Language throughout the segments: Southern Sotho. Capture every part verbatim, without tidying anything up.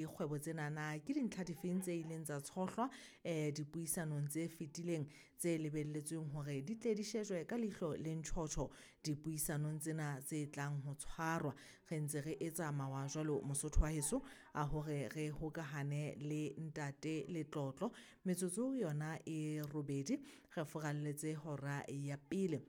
Dikgwebo tsenana ke dintlha difeng tse ileng tsa tshohlwa um dipuisanong tse fetileng tse lebelletsweng hore di tle di shejwe ka leihlo le ntjhotjho dipuisanong tsena tse tlang ho tshwarwa. Re ntse re etsa mawa jwalo Mosotho wa heso a hore re hokahane le ntate Letlotlo. Metsotso yona e robedi re furalletse hora ya pele.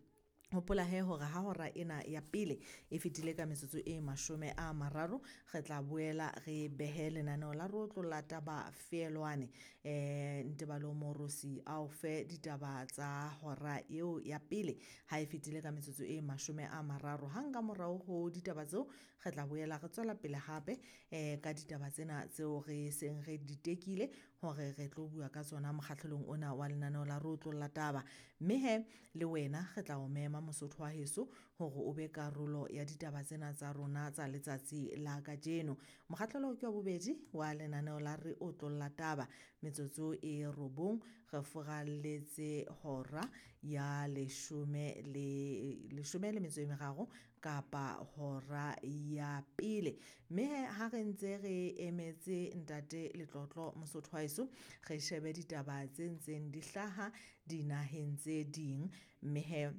Hopola he hore ha hora ena ya pele e fetile ka metsotso e mashome a mararo, re tla boela re behe lenaneo la rotlo la taba feelwane. um Ntebalo Morosi a o fe ditaba tsa hora eo ya pele ha e fetile ka metsotso e mashome a mararo. Hang ka morao ho ditaba tseo, re tla boela re tswela pele hape um ka ditaba tsena tseo re seng re di tekile hore re tlo bua ka tsona mokgahlelong ona wa lenaneo la rotlo la taba. Mme he le wena re tla o mema Mosotho wa heso hore o be karolo ya ditaba tsena tsa rona tsa letsatsi la kajeno. Mokgahlelo ke wa bobedi wa lenaneo la re otlolla taba. Metsotso e robong re furalletse hora ya leshome le leshome le metso e meraro kapa hora ya pele. Mme he ha re ntse re emetse ntate Letlotlo Mosotho wa heso, re shebe ditaba tse ntseng di hlaha dinaheng tse ding. Mme he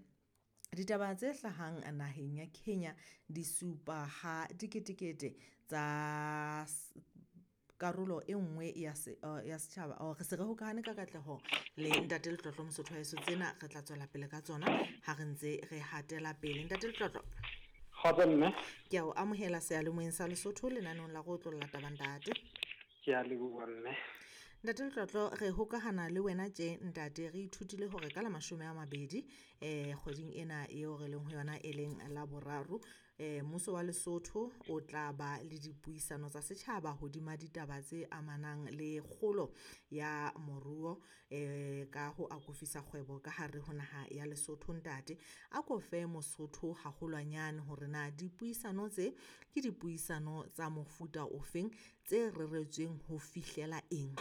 ditaba tse hlahang naheng ya Kenya di supa ha diketekete tsa karolo e nngwe ya se ya setjhaba. Re se re hokahane ka katleho le ntate Letlotlo Mosotho wa heso, tsena re tla tswela pele ka tsona ha re ntse re hatela pele. Ntate Letlotlo, Kgotso mme. Ke a o amohela seyalemoyeng sa Lesotho lenaneong la go otlolla taba ntate. Ke a leboha mme. Ntate Letlotlo, re hokahana le wena tje ntate, re ithutile hore ka la mashome a mabedi eh kgweding ena eo re leng ho yona e leng la boraro, eh mmuso wa Lesotho o tla ba le dipuisano tsa setjhaba hodima ditaba tse amanang le kgolo ya moruo eh ka ho akofisa kgwebo ka hare ho naha ya Lesotho. Ntate, a ko fe Mosotho haholwanyane hore na dipuisano tse ke dipuisano tsa mofuta ofeng tse reretsweng ho fihlela eng?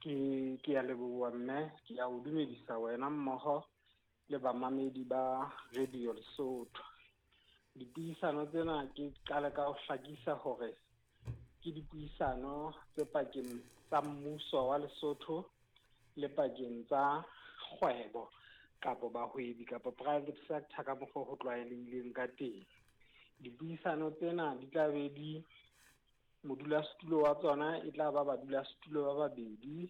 Ke ke a leboha mme, ke a o dumedisa wena mmoho le bamamedi ba Radio Lesotho. Dipuisano tsena ke qale ka ho hlakisa hore ke dipuisano tse pakeng tsa mmuso wa Lesotho le pakeng tsa kgwebo kapa bahwebi kapa private sector ka mokgwa ho tlwaelehileng ka teng. Dipuisano tsena di tla be di modulasetulo wa tsona e tla ba badulasetulo ba babedi,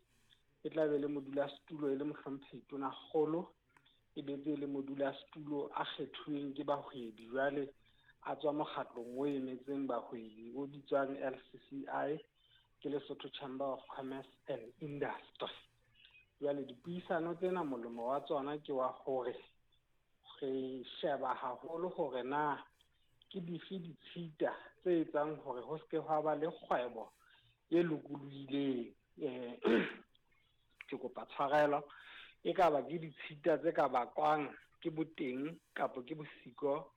e tla be le modulasetulo e le mohlomphehi Tonakgolo, e be le modulasetulo a kgethuweng ke bahwebi jwale a tswa mokgatlong o emetseng bahwebi o bitswang L C C I, ke Lesotho Chamber of Commerce and Industry. Jwale dipuisano tsena molemo wa tsona ke wa hore re sheba haholo hore na ke dife ditshita tse etsang hore ho seke hwa ba le kgwebo e lokolohileng. Eh ke kopa tshwarelo, e ka ba ke ditshita tse ka bakwang ke boteng kapa ke bosiko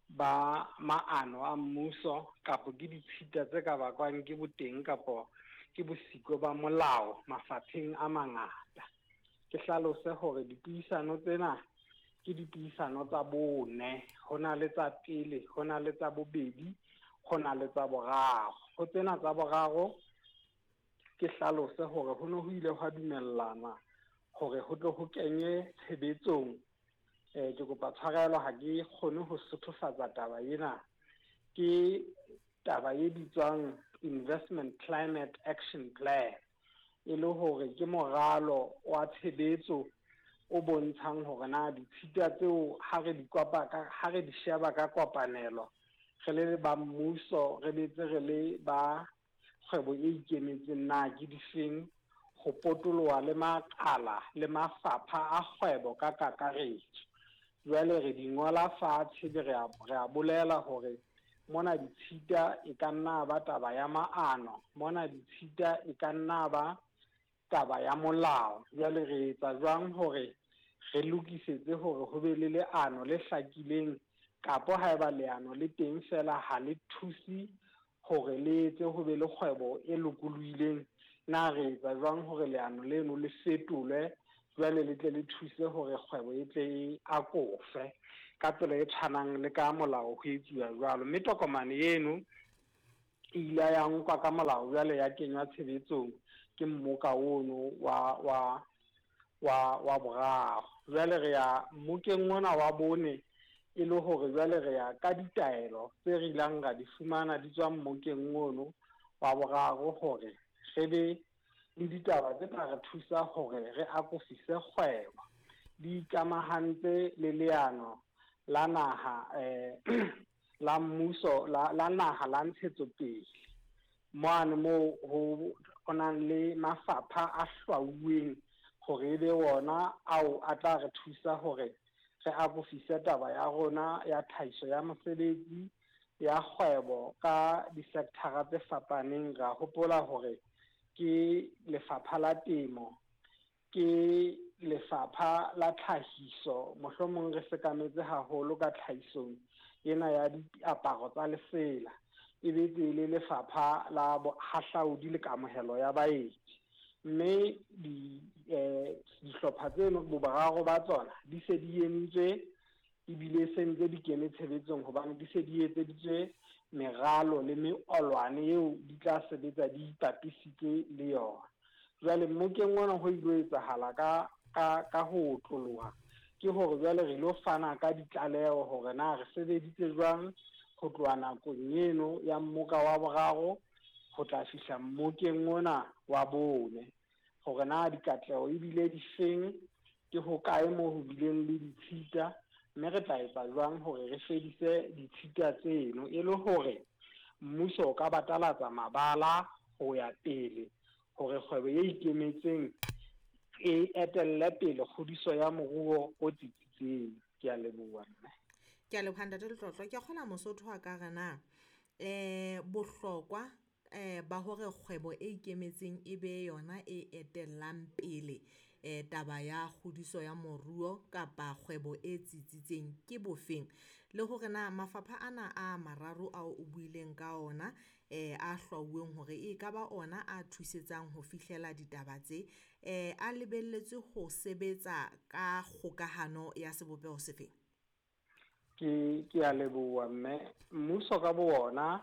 ba maano a mmuso, kapa ke ditshita tse ka bakwang ke boteng kapa ke bosiko ba molao mafapheng a mangata. Ke hlalose hore dipuisano tsena ke dipuisano tsa bone, ho na le tsa pele, ho na le tsa bobedi, ho na le tsa boraro. Ho tsena tsa boraro ke hlalose hore ho ne ho ile hwa dumellana hore ho tle ho kenywe tshebetsong. Eh ke kopa tshwarelo ha ke kgone ho sothofatsa taba ena, ke taba e bitswang Investment Climate Action Plan, e le hore ke moralo wa tshebetso o bontshang hore na ditshita tseo ha re di kopa ka ha re di sheba ka kopanelo re le ba mmuso, re betse re le ba kgwebo e ikemetseng, na ke difeng ho potoloha le makala le mafapha a kgwebo ka kakaretso. Jwale re di ngola fatshe, re a re a bolela hore mona ditshita e ka nna ba taba ya maano, mona ditshita e ka nna ba taba ya molao. Jwale re etsa jwang hore re lokisetse hore ho be le leano le hlakileng, kapa haeba leano le teng fela ha le thuse hore le etse ho be le kgwebo e lokolohileng, na re etsa jwang hore leano leno le fetolwe jwale le tle le thuse hore kgwebo e tle e akofe ka tsela e tshwanang le ka molao ho etsuwa jwalo. Mme tokomane eno E ile ya nkwa ka molao jwale ya kenywa tshebetsong ke mmoka ono wa wa wa wa boraro. Jwale re ya mmokeng ona wa bone e le hore jwale re ya ka ditaelo tse re ilang ra di fumana di tswa mmokeng ono wa boraro hore re be le ditaba tse tla re thusa hore re akofise kgwebo. Di ikamahantse le leano la naha eh la mmuso la la naha la ntshetsopele mane moo ho ho nang le mafapha a hlwauweng hore ebe wona ao a tla re thusa hore re akofise taba ya rona ya tlhahiso ya mosebetsi ya kgwebo ka di-sector-a tse fapaneng. Ra hopola hore ke lefapha la temo, ke lefapha la tlhahiso, mohlomong re sekametse haholo ka tlhahisong ena ya diaparo tsa lesela, e be le lefapha la bohahlaudi le kamohelo ya baeti. Mme di eh dihlopha tseno boboraro ba tsona di se di entswe ebile se ntse di kene tshebetsong hobane di se di etseditswe meralo le meolwane eo di tla sebetsa di ipapisitse le yona. Jwale mmokeng ona ho ilo etsahala ka ka ka ho otloloha ke hore jwale re lo fana ka ditlaleho hore na re sebeditse jwang ho tloha nakong eno ya mmoka wa boraro ho tla fihla mmokeng ona wa bone, hore na dikatleho ebile di feng, ke hokae moo ho bileng le ditshita, mme re tla etsa jwang hore re fedise ditshita tseno e le hore mmuso o ka batalatsa mabala ho ya pele hore kgwebo e ikemetseng e etelle pele kgodiso ya moruo o tsitsitseng. Ke a leboha mme. Ke a leboha ntate Letlotlo. Ke a kgona Mosotho a ka re na eh bohlokwa eh ba hore kgwebo e ikemetseng e be yona e etellang pele eh taba ya kgodiso ya moruo kapa kgwebo e tsitsitseng ke bofeng, le hore na mafapha ana a mararo ao o buileng ka ona eh a hlwauweng hore e ka ba ona a thusetsang ho fihlela ditaba tse eh a lebelletswe ho sebetsa ka kgokahano ya sebopeho sefeng? Ke ke a leboha mme. Mmuso ka bo ona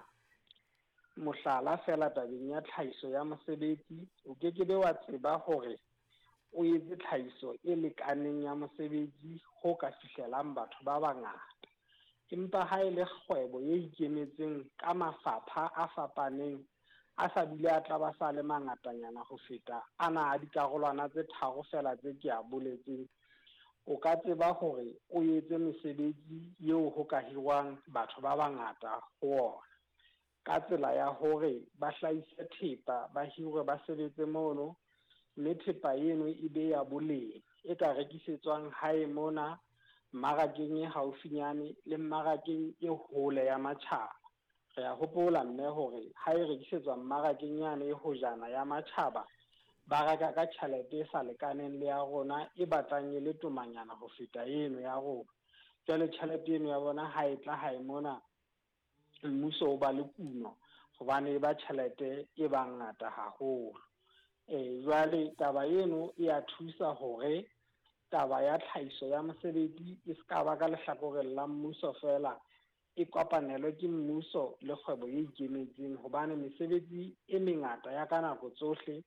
mohlala fela tabeng ya tlhahiso ya mosebetsi, o ke ke be wa tseba hore o etse tlhahiso e lekaneng ya mosebetsi ho ka fihlelang batho ba bangata. Empa ha e le kgwebo e ikemetseng ka mafapha a fapaneng a sa bile a tla ba sa le mangatanyana ho feta ana a dikarolwana tse tharo fela tse ke a boletseng, o ka tseba hore o etse mesebetsi eo ho ka hirwang batho ba bangata ho ona ka tsela ya hore ba hlahise thepa, ba hirwe ba sebetse mono, mme thepa eno e be ya boleng e ka rekisetswang hae mona mmarakeng e haufinyane le mmarakeng e hole ya matjhaba. Re a hopola mme hore ha e rekisetswa mmarakeng yane e hojana ya matjhaba, ba reka ka tjhelete e sa lekaneng le ya rona e batlang e le tomanyana ho feta eno ya rona. Jwale tjhelete eno ya bona ha e tla hae mona, mmuso o ba le kuno hobane e ba tjhelete e ba ngata haholo. Eh jwale taba eno e a thusa hore taba ya tlhahiso ya mosebetsi e ska ba ka lehlakoreng la mmuso fela, e kopanelwe ke mmuso le kgwebo e ikemetseng, hobane mesebetsi e mengata ya ka nako tsohle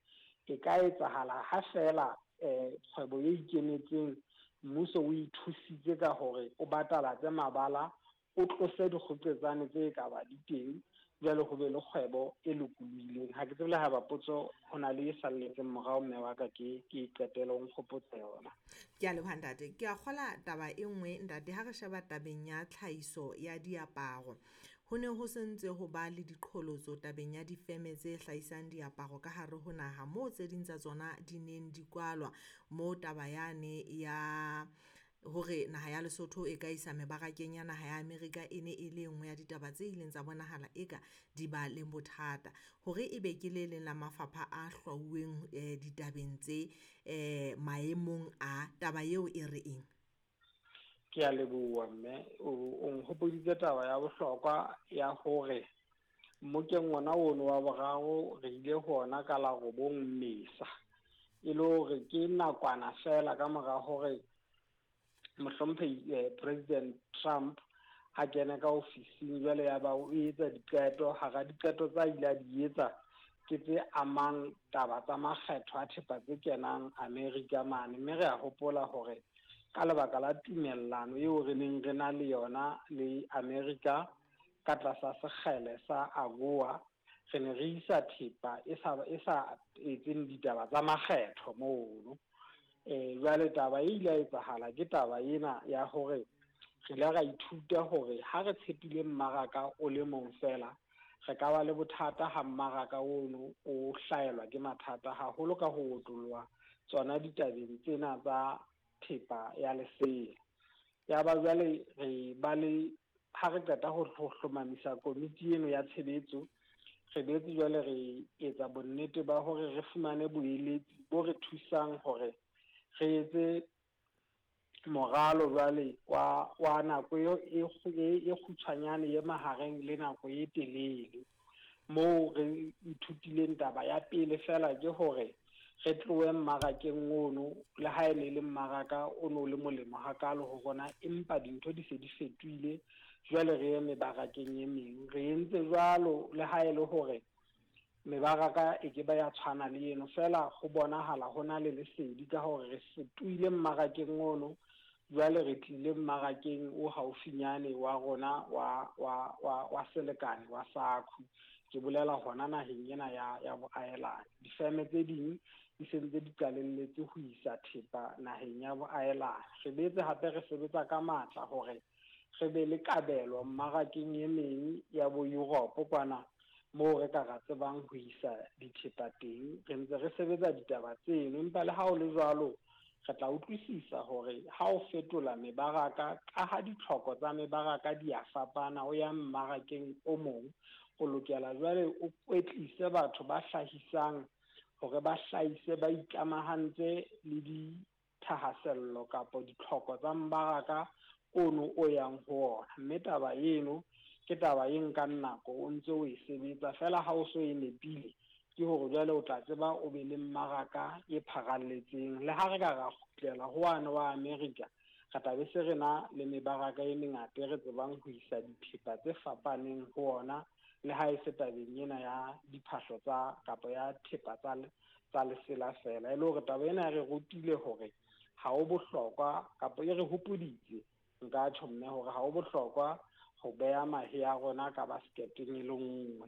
e ka etsahala ha fela eh kgwebo e ikemetseng mmuso o ithusitse ka hore o batalatse mabala, o tlose dikgoqetsane tse ka ba di teng, jwale ho be le kgwebo e lokolohileng. Ha ke tsebe le ha ba potso ho na le e salletseng morao mme wa ka ke ke qetele o nkgopotse yona. Ke a leboha ntate. Ke a kgola taba e nngwe ntate, ha re sheba tabeng ya tlhahiso ya diaparo, ho ne ho sentse ho ba le diqholotso tabeng ya difeme tse hlahisang diaparo ka hare ho naha, moo tse ding tsa tsona di neng di kwalwa, moo taba yane ya hore naha ya Lesotho e ka isa mebarakeng ya naha ya Amerika e ne e le nngwe ya ditaba tse ileng tsa bonahala eka di ba le bothata. Hore ebe ke le leng la mafapha a hlwauweng eh ditabeng tse eh maemong a taba eo e re eng? Ke a leboha mme, o nkgopoditse taba ya bohlokwa ya hore mmokeng ona ono wa boraro re ile hona ka la robong Mmesa, e le hore ke nakwana fela ka mora hore mohlomphehi eh, President Trump a kene ka ofising jwale ya ba o etsa diqeto. Hara diqeto tsa ile a di etsa ke tse amang taba tsa makgetho a thepa tse kenang America mane, mme re a hopola hore ka lebaka la tumellano eo re neng re na le yona le America ka tlasa sekgele sa AGOA, re ne re isa thepa e sa e sa etseng ditaba tsa makgetho mono. Eh jwale taba e ile ya etsahala ke taba ena ya hore re ile ra ithuta hore ha re tshepile mmaraka o le mong fela, re ka ba le bothata ha mmaraka ono o hlaelwa ke mathata haholo ka ho otloloha tsona ditabeng tsena tsa thepa ya lesea. Ya ba jwale re ba le ha re qeta ho hlomamisa komiti eno ya tshebetso, re boetse jwale re etsa bonnete ba hore re fumane boeletsi bo re thusang hore re etse moralo jwale wa wa nako e e kgutshwanyane ye mahareng le nako e telele. Moo re ithutileng taba ya pele fela ke hore re tlohe mmarakeng ono, le ha e ne le mmaraka o no le molemo hakalo ho rona, empa dintho di se di fetohile jwale re ye mebarakeng e meng. Re entse jwalo le ha e le hore mebaraka e ke ba ya tshwana le eno, fela ho bonahala ho na le lesedi ka hore re fetohile mmarakeng ono, jwale re tlile mmarakeng o haufinyane wa rona wa wa wa wa selekane wa SACU. Ke bolela hona naheng ena ya ya boahelani. Difeme tse ding di sentse di qalelletse ho isa thepa naheng ya boahelani. Re boetse hape re sebetsa ka matla hore re be le kabelo mmarakeng e meng ya bo Europe kwana moo re ka ra tsebang ho isa dithepa teng. Re ntse re sebetsa ditaba tseno, empa le ha ho le jwalo re tla utlwisisa hore ha o fetola mebaraka, ka ha ditlhoko tsa mebaraka di a fapana, o ya mmarakeng o mong, o lokela jwale o kwetlise batho ba hlahisang hore ba hlahise ba ikamahantse le dithahasello kapa ditlhoko tsa mmaraka ono o yang ho ona. Mme taba eno ke taba e nkang nako o ntse o e sebetsa, fela ha o so e nepile ke hore jwale o tla tseba o be le mmaraka e pharalletseng. Le ha re ka ra kgutlela ho wane wa America, re tla be se re na le mebaraka e mengata e re tsebang ho isa dithepa tse fapaneng ho ona, le ha e se tabeng ena ya diphahlo tsa kapa ya thepa tsa tsa lesela fela. E le hore taba ena e re rutile hore ha ho bohlokwa, kapa e re hopoditse nka tjho mme hore ha ho bohlokwa ho beha mahe a rona ka basketeng e le nngwe,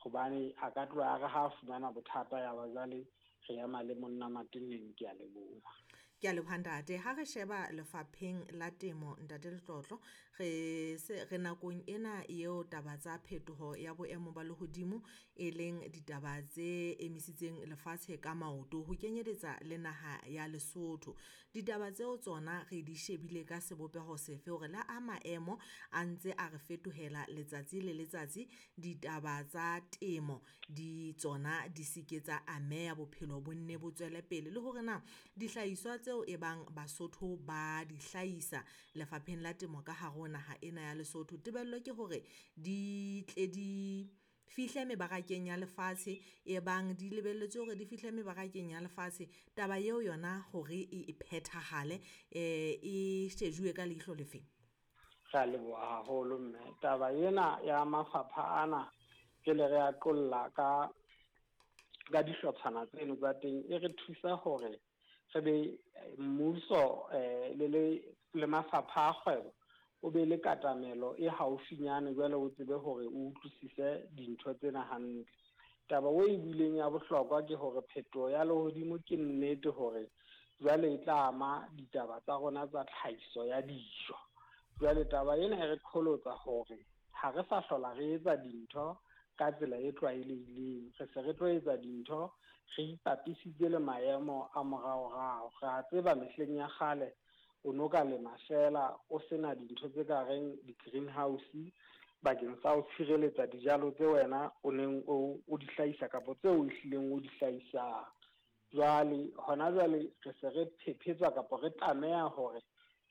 hobane a ka tloha a re ha fumana bothata ya ba jwale re ema le monna mateneng. Ke a leboha. Ke a leboha ntate. Ha re sheba lefapheng la temo, ntate Letlotlo, re se re nakong ena eo taba tsa phetoho ya boemo ba lehodimo e leng ditaba tse emisitseng lefatshe ka maoto ho kenyeletsa le naha ya Lesotho. Ditaba tseo tsona re di shebile ka sebopeho sefe hore la a maemo a ntse a re fetohela letsatsi le letsatsi, ditaba tsa temo di tsona di seke tsa ameha, bophelo bo nne bo tswele pele, le hore na dihlahiswa tseo e bang Basotho ba di hlahisa lefapheng la temo ka hare ho naha ena ya Lesotho, tebello ke hore di tle di fihle mebarakeng ya lefatshe, e bang di lebelletswe hore di fihle mebarakeng ya lefatshe. Taba eo yona hore e phethahale eh e shejuwe ka leihlo lefe? Re a leboha haholo mme. Taba ena ya mafapha ana ke le re a qolla ka ka dihlotshwana tseno tsa teng, e re thusa hore re be mmuso eh le le le mafapha a kgwebo o be le katamelo e haufinyane, jwale o tsebe hore o utlwisise dintho tsena hantle. Taba o e buileng ya bohlokwa ke hore phetoho ya lehodimo ke nnete hore jwale e tla ama ditaba tsa rona tsa tlhahiso ya dijo. Jwale taba ena e re qholotsa hore ha re sa hlola re etsa dintho ka tsela e tlwaelehileng, re se re tlo etsa dintho re ipapisitse le maemo a moraorao. Re a tseba mehleng ya kgale o no ka lema fela o sena dintho tse ka reng di-greenhouse bakeng sa ho tshireletsa dijalo tse wena o neng o o di hlahisa kapa tseo o ehlileng o di hlahisang. Jwale hona jwale re se re phephetswa kapa re tlameha hore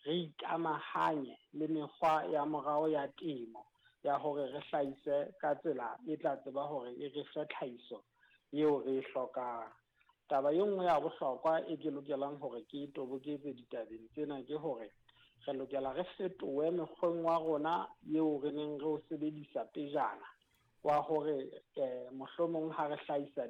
re ikamahanye le mekgwa ya morao ya temo ya hore re hlahise ka tsela e tla tseba hore e re fe tlhahiso eo re e hlokang. Taba e nngwe ya bohlokwa e ke lokelang hore ke toboketse ditabeng tsena ke hore Re lokela re fetohe mekgweng wa rona eo re neng re o sebedisa pejana wa hore eh mohlomong ha re hlahisa